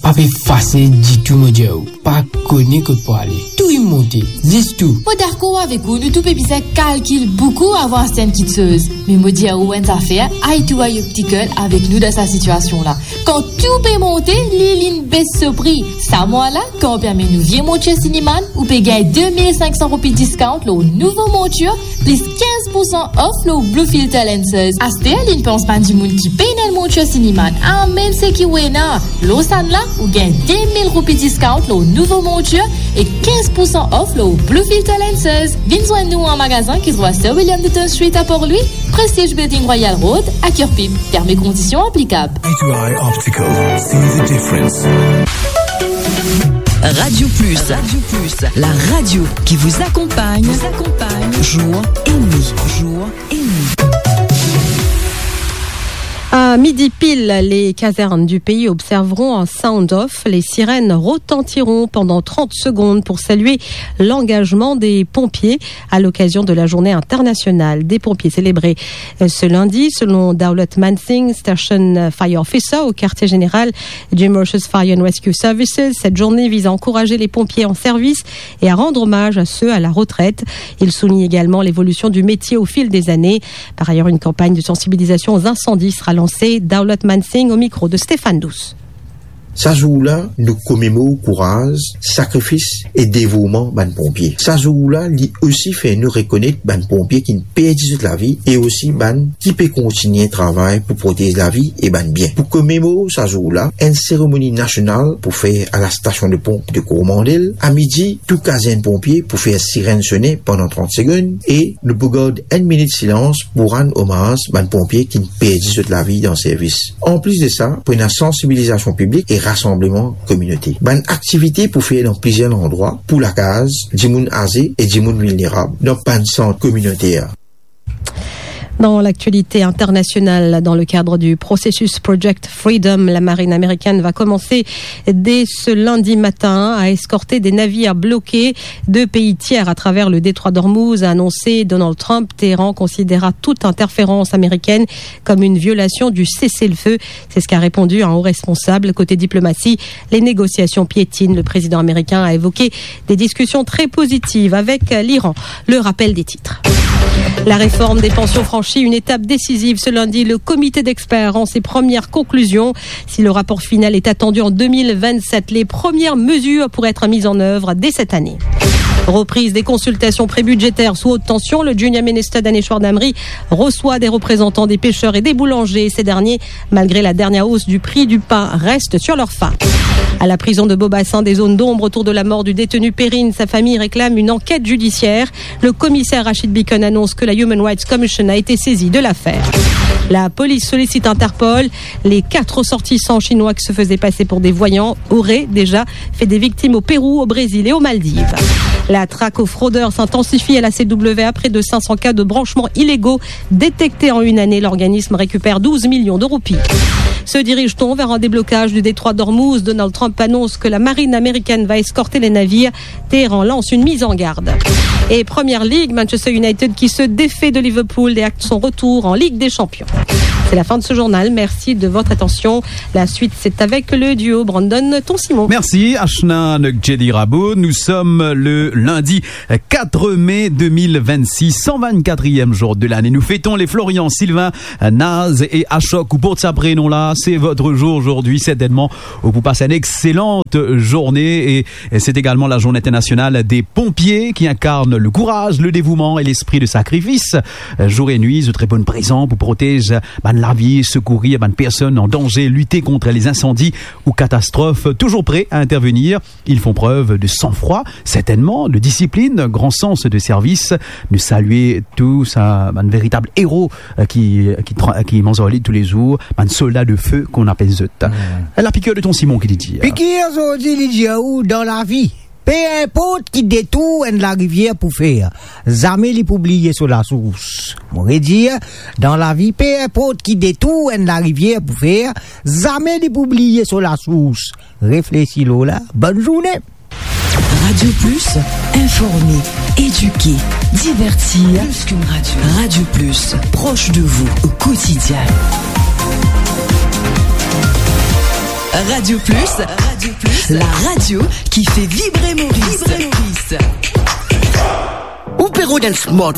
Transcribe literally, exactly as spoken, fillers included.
Pa pe fasil ditou, mo dir ou. Pa kone kot pou ale. Tou inn monte, zis tou. Mo dakor avek ou, nou tou pe bizin kalkil boukou avan aste enn kiksoz. Me mo dir ou enn zafer, Eye to Eye Optical avek nou dan sa sitiasion la. Kan tou pe monte, li, linn bes so pri. Sa mwa la, kan ou pe amenn ou vie montir Cineman, ou pe gagn de mil sink san roupi discount lor nouvo montir, plis kinz pou san off lor Blue Filter lenses. Aster, linn pans bann dimoun ki pena enn montir Cineman, a mem seki ou ena. Lor sannla, ou gagn de mil roupi discount lor nouvo montir e kinz pou san off lor Blue Filter lenses. Vinn zwenn nou an magazin ki trouv Sir William Newton Street a Port Louis, Prestige Building, Royal Road, a Kirpip. Termes et conditions applicables. Eye to Eye Optical. See the difference. Radio Plus. Radio Plus, la radio qui vous accompagne, vous accompagne, jour et nuit, jour et nuit. À midi pile, les casernes du pays observeront un sound off. Les sirènes retentiront pendant trente secondes pour saluer l'engagement des pompiers à l'occasion de la journée internationale des pompiers célébrée, euh, ce lundi. Selon Daulat Mansingh, Station Fire Officer au quartier général du Mauritius Fire and Rescue Services, cette journée vise à encourager les pompiers en service et à rendre hommage à ceux à la retraite. Il souligne également l'évolution du métier au fil des années. Par ailleurs, une campagne de sensibilisation aux incendies sera lancée. Daulat Mansingh au micro de Stéphane Douce. Sa zour la, nou komemor kouraz, sakrifis e devouman bann ponpie. Sa zour la, li osi fer nou rekonet bann ponpie ki'nn perdi zot lavi e osi bann ki pe kontign travay pou protez lavi e bann bien. Pou komemor sa zour la, enn seremoni nasional pou fer a la station de pompe de Coromandel. A midi, tou kazern ponpie pou fer sirenn sone pandan trant segonn e nou pou gard enn minit silans pou rann omaz bann ponpie ki'nn perdi zot lavi dan servis. Anplis de sa, pou ena sansibilizasion piblik e rasanbleman kominote. Bann aktivite pou fer dan plizier landrwa, pou lakaz, dimoun aze e dimoun vilnerab, dan bann sant kominoter. Dans l'actualité internationale, dans le cadre du processus Project Freedom, la marine américaine va commencer dès ce lundi matin à escorter des navires bloqués de pays tiers à travers le détroit d'Ormuz, a annoncé Donald Trump. Téhéran considérera toute interférence américaine comme une violation du cessez-le-feu. C'est ce qu'a répondu un haut responsable. Côté diplomatie, les négociations piétinent. Le président américain a évoqué des discussions très positives avec l'Iran. Le rappel des titres. La réforme des pensions franchit une étape décisive. Ce lundi, le comité d'experts rend ses premières conclusions. Si le rapport final est attendu en deux mille vingt-sept, les premières mesures pourraient être mises en œuvre dès cette année. Reprise des consultations prébudgétaires sous haute tension. Le junior minister Daneshwar Damri reçoit des représentants des pêcheurs et des boulangers. Ces derniers, malgré la dernière hausse du prix du pain, restent sur leur faim. À la prison de Beaubassin, des zones d'ombre autour de la mort du détenu Perrine. Sa fami reklame une enquête judiciaire. Le commissaire Rachid Bikon annonce que la Human Rights Commission a été saisie de l'affaire. La police sollicite Interpol. Les quatre ressortissants chinois qui se faisaient passer pour des voyants auraient déjà fait des victimes au Pérou, au Brésil et aux Maldives. La traque aux fraudeurs s'intensifie à la C W A. Près de cinq cents cas de branchements illégaux détectés en une année. L'organisme récupère douze millions de roupies. Se dirige-t-on vers un déblocage du détroit d'Ormuz ? Donald Trump annonce que la marine américaine va escorter les navires. Téhéran lance une mise en garde. Et Première Ligue, Manchester United qui se défait de Liverpool et acte son retour en Ligue des Champions. C'est la fin de ce journal. Merci de votre attention. La suite, c'est avec le duo Brandon Ton Simon. Merci, Ashna Nokjedi Rabo. Nous sommes le lundi quatre mai deux mille vingt-six, cent vingt-quatrième jour de l'année. Nous fêtons les Florian, Sylvain, Naz et Ashok. Ou port sa prenom la, c'est votre jour aujourd'hui, certainement. Ou pou passe une excellente journée et Et c'est également la journée internationale des pompiers qui incarne le courage, le dévouement et l'esprit de sacrifice. Euh, jour et nuit, zot reponn prezan pou protez bann lavi, sekourir bann personn an danze, lite kont les incendies ou catastrophes. Toujours prêts à intervenir, ils font preuve de sang-froid, certainement, de discipline, grand sens de service. Nou salie tou sa bann veritab ero, euh, ki, ki tra-, ki manz ar li toulezour, bann solda de fe, kouma nou apel zot. Hmm. La piqûre de Ton Simon ki li dir. Pikir zordi li dir ou dan lavi, pe inport ki detour enn larivier pou fer, zame li pou bliye so lasours. Mo redir, dan lavi, pe inport ki detour enn larivier pou fer, zame li pou bliye so lasours. Reflesi lor la. Bonne journée. Radio Plus, informer, éduquer, divertir. Plus qu'une radio. Radio Plus, proche de vous au quotidien. Radio Plus, Radio Plus, la radio qui fait vibrer Maurice. Vibrer Maurice. Ou pe rod enn smartphone